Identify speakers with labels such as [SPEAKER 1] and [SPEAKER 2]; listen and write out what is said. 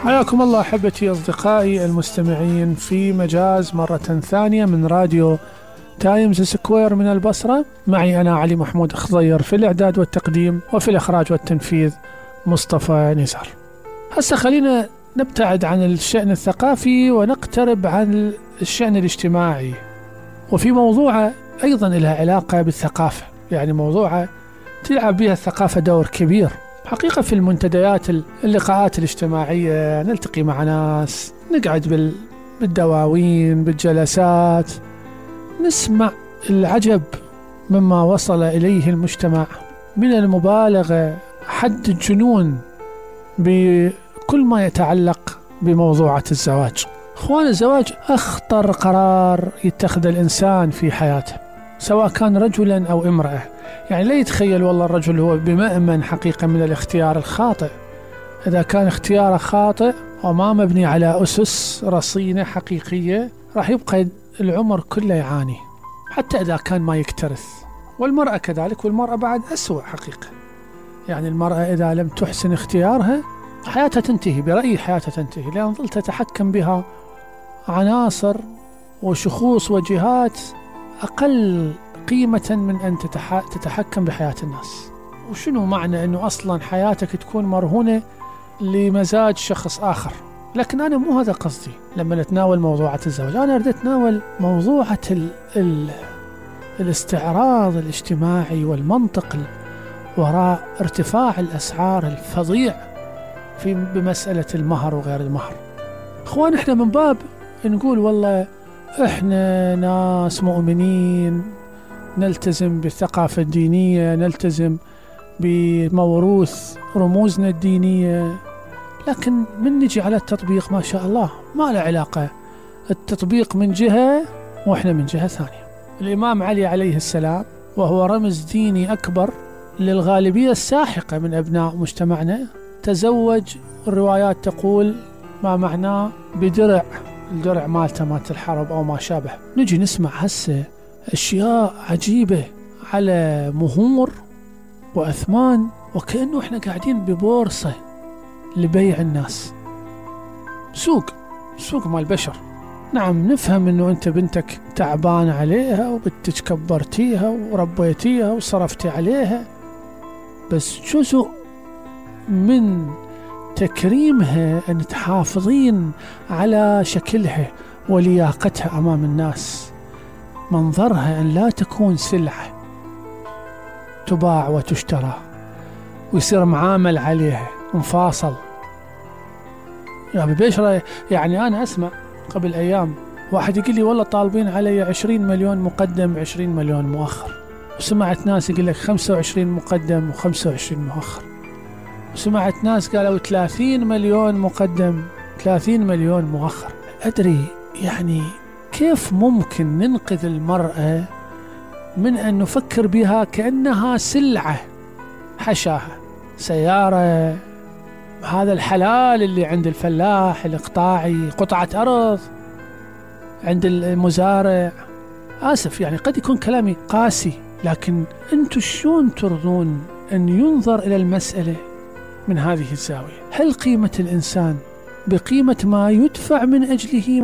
[SPEAKER 1] حياكم الله أحبتي أصدقائي المستمعين في مجاز مرة ثانية من راديو تايمز سكوير من البصرة. معي أنا علي محمود خضير في الإعداد والتقديم، وفي الإخراج والتنفيذ مصطفى نزار. هسه خلينا نبتعد عن الشأن الثقافي ونقترب عن الشأن الاجتماعي، وفي موضوع أيضا لها علاقة بالثقافة، يعني موضوع تلعب بها الثقافة دور كبير حقيقة في المنتديات، اللقاءات الاجتماعية، نلتقي مع ناس، نقعد بالدواوين، بالجلسات، نسمع العجب مما وصل إليه المجتمع من المبالغة حد الجنون بكل ما يتعلق بموضوعة الزواج. اخوان، الزواج أخطر قرار يتخذ الإنسان في حياته، سواء كان رجلا أو امرأة. يعني لا يتخيل والله الرجل هو بمأمن حقيقة من الاختيار الخاطئ. إذا كان اختياره خاطئ وما مبني على أسس رصينة حقيقية، راح يبقى العمر كله يعاني، حتى إذا كان ما يكترث. والمرأة كذلك، والمرأة بعد أسوأ حقيقة. يعني المرأة إذا لم تحسن اختيارها حياتها تنتهي، برأيي حياتها تنتهي، لأن ظل تتحكم بها عناصر وشخوص وجهات أقل قيمة من أن تتحكم بحياة الناس. وشنو معنى أنه أصلا حياتك تكون مرهونة لمزاج شخص آخر؟ لكن أنا مو هذا قصدي لما نتناول موضوعة الزواج. أنا أريد أتناول موضوعة الاستعراض الاجتماعي والمنطق وراء ارتفاع الأسعار الفظيع بمسألة المهر وغير المهر. أخوان، إحنا من باب نقول والله إحنا ناس مؤمنين، نلتزم بالثقافة الدينية، نلتزم بموروث رموزنا الدينية، لكن من نجي على التطبيق ما شاء الله ما له علاقة. التطبيق من جهة وإحنا من جهة ثانية. الإمام علي عليه السلام وهو رمز ديني أكبر للغالبية الساحقة من أبناء مجتمعنا، تزوج، الروايات تقول ما معناه بدرع، الدرع مالته مالت الحرب أو ما شابه. نجي نسمع هسه أشياء عجيبة على مهور وأثمان، وكأنه إحنا قاعدين ببورصة لبيع الناس، سوق مال البشر. نعم، نفهم أنه أنت بنتك تعبان عليها وبنتك كبرتيها وربيتيها وصرفتي عليها، بس جزء من تكريمها أن تحافظين على شكلها ولياقتها أمام الناس، منظرها أن لا تكون سلعة تباع وتشترى ويصير معامل عليها مفاصل. يعني بشرة، يعني أنا أسمع قبل أيام واحد يقول لي والله طالبين علي 20 مليون مقدم 20 مليون مؤخر، وسمعت ناس يقول لك 25 مقدم و25 مؤخر، وسمعت ناس قالوا 30 مليون مقدم 30 مليون مؤخر. أدري يعني كيف ممكن ننقذ المرأة من أن نفكر بها كأنها سلعة حشاها، سيارة، هذا الحلال اللي عند الفلاح الإقطاعي، قطعة أرض عند المزارع. آسف، يعني قد يكون كلامي قاسي، لكن أنتوا شلون ترضون أن ينظر إلى المسألة من هذه الزاوية؟ هل قيمة الإنسان بقيمة ما يدفع من أجله